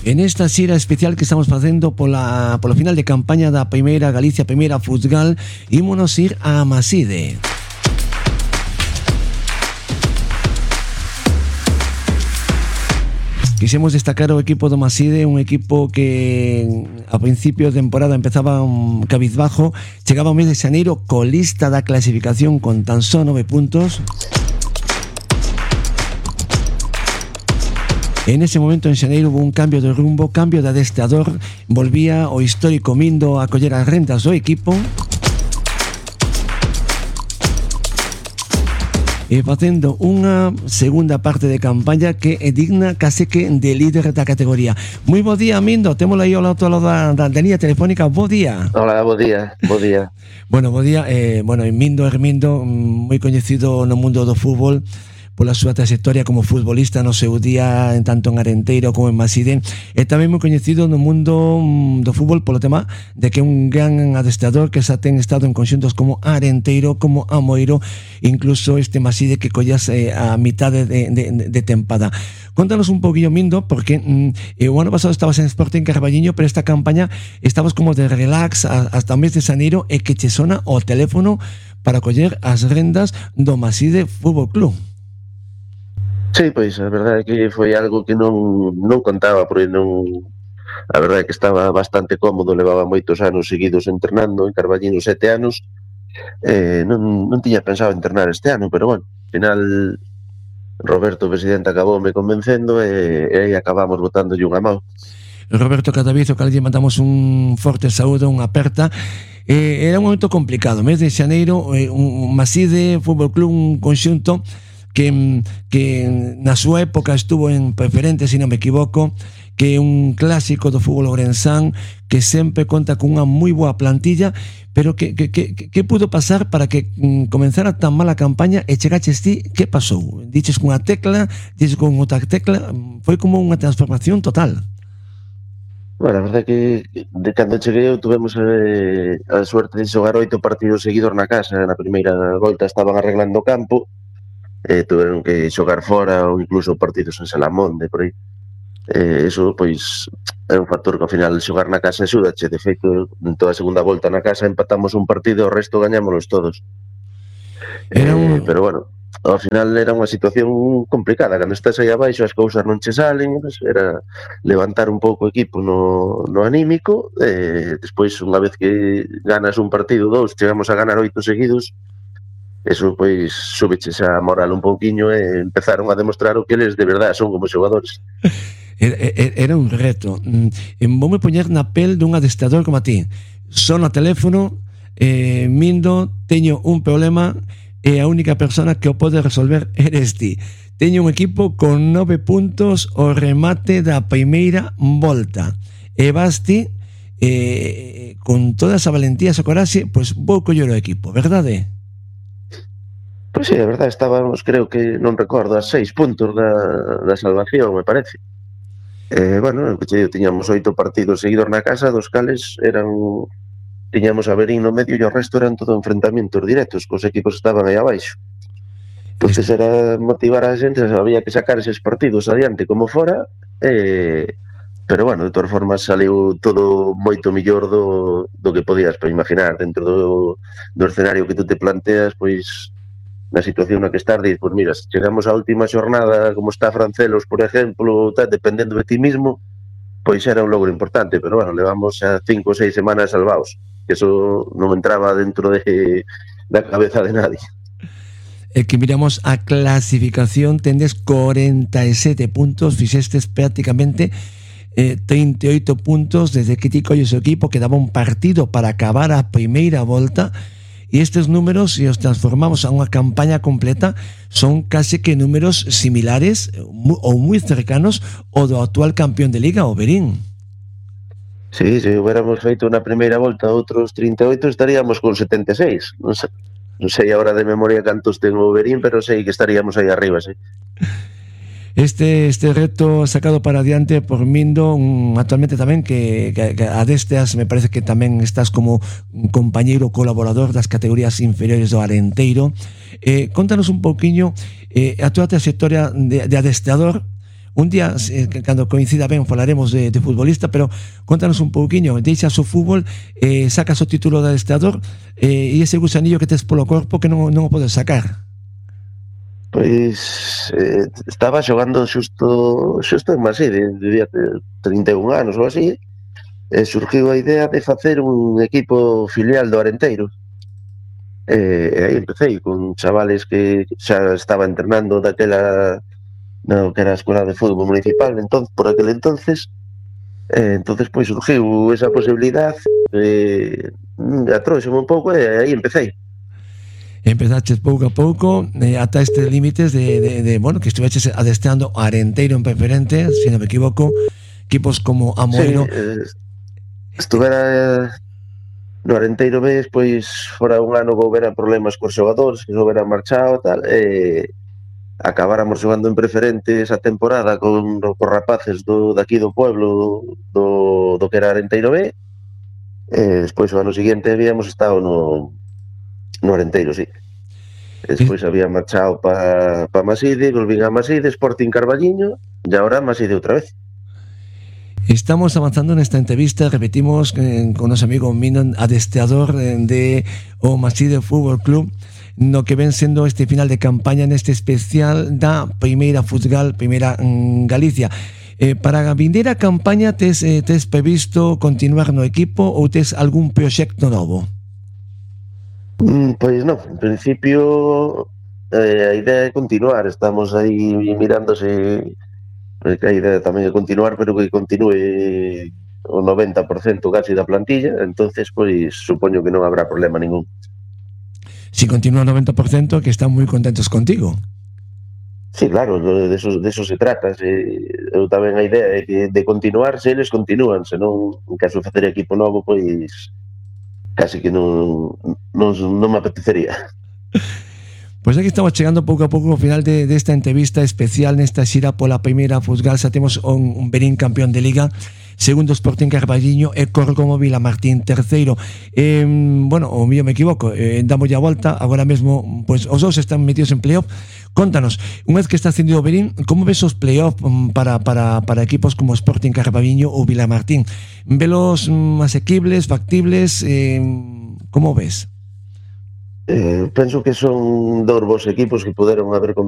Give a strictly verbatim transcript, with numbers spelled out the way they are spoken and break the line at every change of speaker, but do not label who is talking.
En esta xira especial que estamos facendo pola, polo final de campaña da Primeira Galicia Primeira Futsal, ímonos ir a Maside. Quixemos destacar o equipo do Maside, un equipo que a principio de temporada empezaba un cabizbajo, chegaba ao mes de xaneiro colista da clasificación con tan só nove puntos. En ese momento en xaneiro hubo un cambio de rumbo, cambio de adestrador, volvía o histórico Mindo a coller as rentas do equipo e facendo unha segunda parte de campaña que é digna case que de líder da categoría. Moi bo día, Mindo, témolo aí ao lado da, da, da línea telefónica. Bo día.
Hola, bo día, bo día.
Bueno, bo día, eh, bueno, Mindo Hermindo, moi coñecido no mundo do fútbol pola súa trayectoria como futbolista no seu día, en tanto en Arenteiro como en Maside, e tamén moi coñecido no mundo do fútbol polo tema de que é un gran adestrador que xa ten estado en conxuntos como Arenteiro, como Amoeiro, incluso este Maside que collas eh, a mitade de, de, de tempada. Contanos un poquillo, Mindo, porque mm, o ano pasado estabas en Sporting Carballiño, pero esta campaña estabas como de relax a, hasta o mes de xaneiro e que che sona o teléfono para coller as rendas do Maside Fútbol Club.
Sí, pois a verdade é que foi algo que non, non contaba, porque non, a verdade é que estaba bastante cómodo, levaba moitos anos seguidos entrenando en Carballiño, sete anos, eh, non, non tiña pensado entrenar este ano, pero bueno, ao final Roberto, o presidente, acabou me convencendo e, e aí acabamos botándolle unha mão.
Roberto Cadavizo, que lle mandamos un forte saúdo, unha aperta. Eh, era un momento complicado, mes de xaneiro, eh, un Maside Fútbol Club, un conxunto que, que na súa época estuvo en preferente, se non me equivoco, que é un clásico do fútbol ourensán, que sempre conta con unha moi boa plantilla, pero que, que, que, que pudo pasar para que mm, comenzara tan mala campaña e chegaches ti? Que pasou? Diches cunha tecla, diches con outra tecla, foi como unha transformación total.
Bueno, a verdade é que de cando cheguei eu tuvemos eh, a suerte de xogar oito partidos seguidos na casa. Na primeira volta estaban arreglando o campo, eh, tuveron que xogar fora ou incluso partidos en Salamonde, por aí. Eh, eso, pois, é un factor que ao final xogar na casa axúdache. De feito, en toda a segunda volta na casa empatamos un partido, o resto gañámonos todos.
Era un...
Eh, pero bueno, ao final era unha situación complicada. Cando estás aí abaixo as cousas non che salen, pues, era levantar un pouco o equipo no, no anímico, e despois, unha vez que ganas un partido, dous, chegamos a ganar oito seguidos, eso, pois, súbeches a moral un pouquiño e empezaron a demostrar o que eles de verdade son como xogadores.
Era, era un reto. Voume poñer na pel dun adestrador como a ti. Son ao teléfono, eh, Mindo, teño un problema e a única persona que o pode resolver eres ti. Teño un equipo con nove puntos o remate da primeira volta. E vas ti, eh, con toda esa valentía, esa coraxe, pois vou coller o equipo, verdade?
Pois sí, a verdade, estábamos, creo que, non recordo, a seis puntos da, da salvación, me parece. Eh, bueno, tiñamos oito partidos seguidos na casa, dos cales eran, tiñamos a Verín no medio e o resto eran todo enfrentamentos directos, cos equipos estaban aí abaixo. Entonces era motivar a xente, había que sacar eses partidos adiante como fora, eh, pero bueno, de todas formas saliu todo moito millor do, do que podías imaginar dentro do, do escenario que tú te planteas, pois na situación na que estás, dices, pois mira, se chegamos á última xornada como está Francelos, por exemplo, tal, dependendo de ti mismo, pois era un logro importante, pero bueno, levamos xa cinco ou seis semanas salvados, que eso non entraba dentro de da cabeza de nadie.
É que miramos a clasificación, tendes cuarenta y siete puntos, fixestes prácticamente eh, treinta y ocho puntos desde que ti colles o equipo, quedaba un partido para acabar a primeira volta. E estes números, se os transformamos a unha campaña completa, son case que números similares ou moi cercanos ao do actual campeón de Liga, o Verín.
Sí, se hubiéramos feito na primeira volta outros trinta e oito, estaríamos con setenta e seis. Non sei, non sei agora de memoria cantos ten o Verín, pero sei que estaríamos aí arriba, sí.
Este, este reto sacado para adiante por Mindo, um, actualmente tamén que, que, que a destas me parece que tamén estás como un compañeiro colaborador das categorías inferiores do Arenteiro. Eh, contanos un pouquiño eh, a túa trayectoria de, de adestrador, un día, eh, cando coincida ben, falaremos de, de futbolista, pero contanos un pouquiño, deixas o fútbol, eh, sacas o título de adestrador, eh, e ese gusanillo que tes polo corpo que non, non o podes sacar.
Pois eh, estaba xogando xusto xusto en Maside, debía ter trinta e un anos ou así, e surgiu a idea de facer un equipo filial do Arenteiro. E, e aí empecé con chavales que xa estaba entrenando daquela no que era a escola de fútbol municipal, entón, por aquel entonces, eh, entonces pois surgiu esa posibilidad, eh, atróxome un pouco e aí empecé.
Empezaches pouco a pouco, eh, ata estes límites de, de, de, bueno, que estuveches adestrando a Arenteiro en preferente, se non me equivoco, equipos como Amoedo.
Sí, eh, estuvera no Arenteiro ves, pois fora un ano que houbera problemas cos xogadores, que houbera marchado e tal, e acabáramos xogando en preferente esa temporada con os rapaces do daqui do pueblo do, do que era Arenteiro B, e despois o ano seguinte habíamos estado no, no Arenteiro, sí. E despois había marchado pa, pa Maside, volvín a Maside, Sporting Carballiño, e agora Maside outra vez.
Estamos avanzando nesta entrevista, repetimos eh, con noso amigo Minon, adestrador eh, de o Maside Fútbol Club, no que ven sendo este final de campaña neste especial da Primeira Futsal, Primeira mm, Galicia. Eh, para a vindeira campaña tes, eh, tes previsto continuar no equipo ou tes algún proxecto novo?
Mm, pois non, en principio eh, a idea é continuar, estamos aí mirando se que a idea tamén é continuar, pero que continue o noventa por cento casi da plantilla, entonces pois supoño que non habrá problema ningún.
Si continúa o noventa por cento, que están moi contentos contigo.
Sí, claro, de eso, de eso se trata. Se, eu tamén a idea é que de continuar, se eles continúan, senón en caso de facer equipo novo, pois casi que non, non, non me apetecería.
Pois aquí estamos chegando pouco a pouco ao final de, desta entrevista especial nesta xira pola Primeira Futsal. Xa temos un, un Verín campeón de Liga, segundo Sporting Carballiño e Córgomo Vilamartín terceiro. Eh, bueno, o mío me equivoco, eh, damos a volta, agora mesmo pois, os dous están metidos en playoff. Contanos, unha vez que está ascendido o Verín, como ves os playoff para, para, para equipos como Sporting Carballiño ou Vilamartín? Velos mm, asequibles, factibles, eh, como ves?
Eh, penso que son dous bons equipos que puderon haber